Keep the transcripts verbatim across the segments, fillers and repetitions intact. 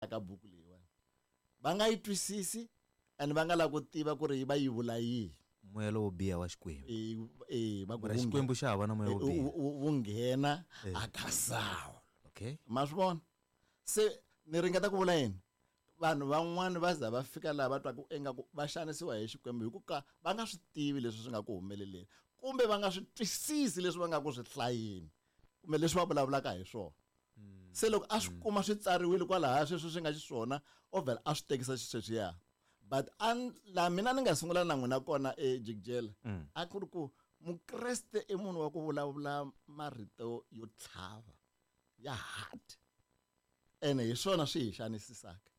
Ka buku leyiwani va nga yi twisisi and va nga lava ku tiva ku ri va yi vula yihi. Moya lowo biha wa Xikwembu. E e va ku Mara Xikwembu xa hava na moya wo biha. Wu nghena aka Sawulo. Okay. Ma swi vona? Se ni ringeta ku vula yini? Vanhu van'wani va za va fika laha va twaka ingaku va xanisiwa hi Xikwembu hi ku ka va nga swi tivi leswi swi nga ku humeleleni kumbe va nga swi twisisi leswi va nga ku swi hlayeni kumbe leswi va vulavulaka hi swona. Se loko a swi kuma swi tsariwile kwalaya sweswi swi nga xiswona o vhela a swi tekisa xisweswiya. But an la mina ni nga sungula na n'wina kona ejikijela a ku ri ku Mukreste i munhu wa ku vulavula marito yo tlhava ya hard ene hi swona swi hi xanisisaka.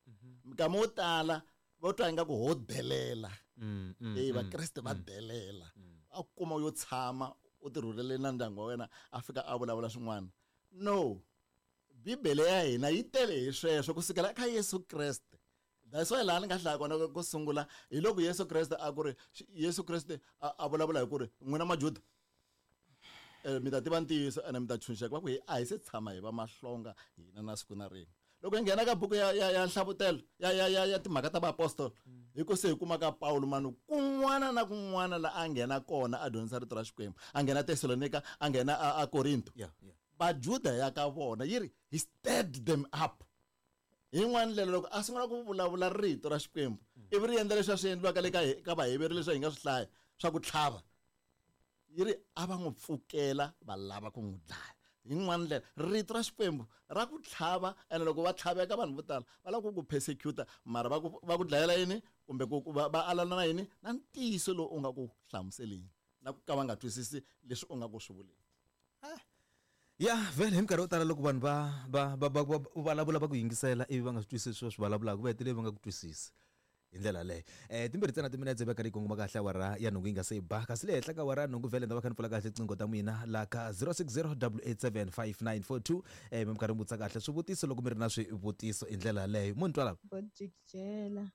Minkama wo tala vo twa ingaku ho delela. E Vakreste va delela. A kuma yo tshama u tirhulele na ndyangu wa wena a fika a vulavula swin'wana. No, Bibele ya hina yi tele hi sweswo kusukela eka Yesu Kreste. That's why laha ni nga hlaya kona ku sungula hi loko Yesu Kreste a ku ri Yesu Kreste a vulavula hi ku ri n'wina Majuda eh mi ta tiva ntiyiso ene mi ta tshunxeka va ku hi a hi se tshama hi va mahlonga hina na siku na rin'we. Loko hi nghena ka buku ya ya ya nhlavutelo ya ya ya ya timhaka ta vaapostolo hi ku se hi kuma ka Paulo manu kun'wana na kun'wana la a nghena kona a dyondzisa rito ra Xikwembu a nghena Tesalonika a nghena a Korinto. Vajuda ya ka vona yi ri he stirred them up. Hi yin'wana ndlela loko a sungula ku vulavula rito ra Xikwembu ivi ri endla leswi a swi endliwaka le ka ka Vaheveri leswi hi nga swi hlaya swa ku tlhava yi ri a va n'wi pfukela va lava ku n'wi dlaya. Hi yin'wana ndlela rito ra Xikwembu ra ku tlhava ene loko va tlhaveka vanhu vo tala va lava ku ku persecuta mara va ku va ku dlayela yini kumbe ku va alana na yini na ntiyiso lowu u nga ku hlamuseleni na ku ka va nga twisisi leswi u nga ku swi vuleni. Ya vhele hi minkarhi yo tala loko vanhu va va va va vulavula va ku yingisela ivi va nga swi twisisi sweswi swi vulavulaka va hetelele va nga ku twisisi hi ndlela leyo. Eh timbirhi ntsena timinetse va karhi yi kongoma kahle awara ya nhungu yi nga se yi ba kasi le henhla ka awara ya nhungu vhele ni ta va kha ni pfula kahle tinqingho ta n'wina la ka zero six zero double eight seven five nine four two eh mi karhi mi vutisa kahle swivutiso loko mi ri na swivutiso hi ndlela yaleyo. Mo ni twa lava? Bojikijela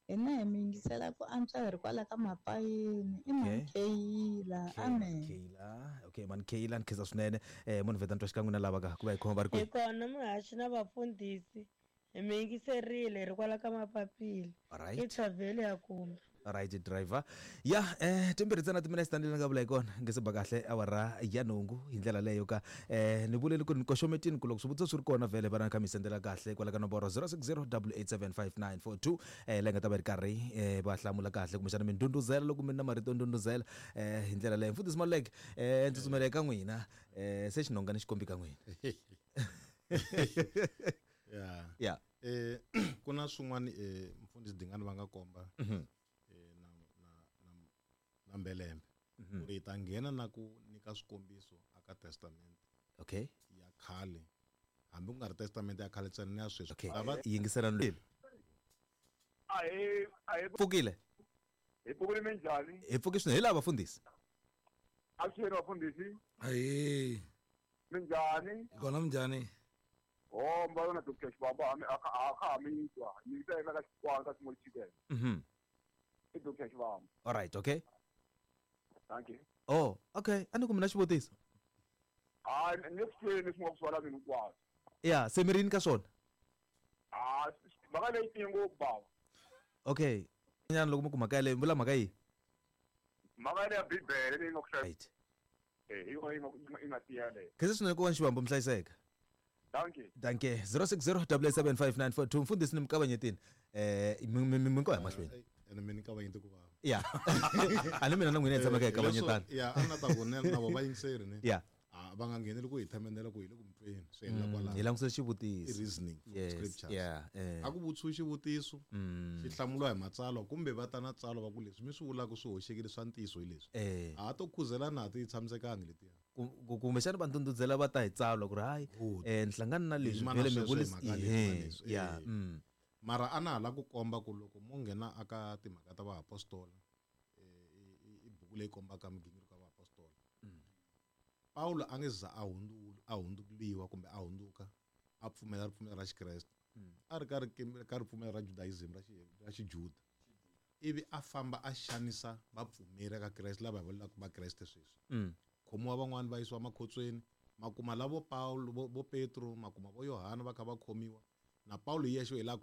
hina hi mi yingisela ku antswa hi ri kwala ka mapayeni i Mankeyila. Amen. Mankeyila. Okay, Mankeyila ni khensa swinene. Eh munhu vheta ni twa xikan'we na lava ka ku va hi khoma va ri kwihi. Hi kona muhaxi na vafundhisi hi mi yingiserile hi ri kwala ka mapapila. Alright. I Thavheli ya kumbe. Right driver. Ya eh timbirhi ntsena timinetse tanihi ni nga vula hi kona nge se ba kahle awara ya nhungu hi ndlela leyo ka eh ni vuleli ku ni koxometini ku loko swivutiso swi ri kona vhele va na kha mi sendela kahle kwala ka nomboro zero six zero double eight seven five nine four two eh leyi nga ta va ri karhi eh va hlamula kahle kumbexana mi ndhundhuzela loko mi ri na marito yo ndhundhuzela eh hi ndlela leyo. Mfundhisi Maluleke eh ndzi tsutsumela eka n'wina eh se xinonga ni xikombi ka n'wina. Ya. Ya. Eh ku na swin'wana eh mfundhisi Dingani va nga komba eh na na na na Mbelembe ku ri hi ta nghena na ku nyika swikombiso aka testament Okay. ya khale hambi ku nga ri testament ya khale ntsena ni ya sweswi. Okay. Lava Yingiselani loyi. A hi a hi pfukile. Hi pfukile minjhani? Hi pfuki swinene hi lava vafundhisi. Avuxeni vafundhisi. Ahee. Minjhani? Hi kona minjhani? Ho mba yona Doctor Xibamba ha mi a kha a kha ha mi twa. Ni yisa eka ka Xikwana ka Small Chicken. Mhm. I Doctor Xibamba. All right, okay. Thank you. Oh, okay. A ni ku mina xivutiso. Hayi, ni le ku tweni leswi nga ku swala mina hinkwaswo. Ya, se mi ri yini ka swona? Ah, mhaka leyi tiye ngopfu bava. Okay. Nyana loko mi ku mhaka yaleyo, mi vula mhaka yihi? Mhaka yaleyo ya Bibele leyi nga ku hlaya. Right. Eh, hi yona yi nga yi nga tiya leyo. Khensa swinene ku va ni Xivambo mi hlayiseka. Dankie. Dankie. zero six zero double eight seven five nine four two mfundhisi ni mi kavanyetini. Eh mi mi mi ko ya mahlweni. Ene mi ni kavanyete ku vava. Ya. A ni mina na n'wina hi tshamaka hi kavanyetana. Ya, a na ta ku ne na vo va yingiseri ne. Ya. Ah, va nga ngheneli ku hi themendela ku hi le ku mutweni swi helela kwalano. Hi langutisa xivutiso. I reasoning from Yes, scriptures. yeah, eh. A ku vutisiwi xivutiso, Mm. xi hlamuriwa hi matsalwa kumbe va ta na tsalwa va ku leswi mi swi vulaka swi hoxekile swa ntiyiso hi leswi. Eh. A ha to khuzelana a ti tshamisekangi letiya. Ku kumbexana va ndhundhuzela va ta hi tsalwa ku ri hayi Good. eh ni hlangana na leswi Yima na vhele mi sweswo hi vulisa mhaka leyi, ehe, na leswi, ya, eh. mm. Mara a na ha lava ku komba ku loko mo nghena aka timhaka ta vaapostola eh i buku leyi kombaka migingiriko ya vaapostola. Mm. Paulo a nge za a hundzula, a hundzuriwa kumbe a hundzuka a pfumela ripfumelo ra Xikreste. Mm. A ri ka ri ka ripfumelo ra Judaism ra xi ra Xijuda. Ivi a famba a xanisa vapfumeri ka Kreste lava hi vulaka Vakreste sweswi. Mm. Khomiwa van'wani va yisiwa makhotsweni, makuma lavo Paulo vo, vo Petro, makuma vo Yohana va kha va khomiwa. Na Paulo hi yexe hi la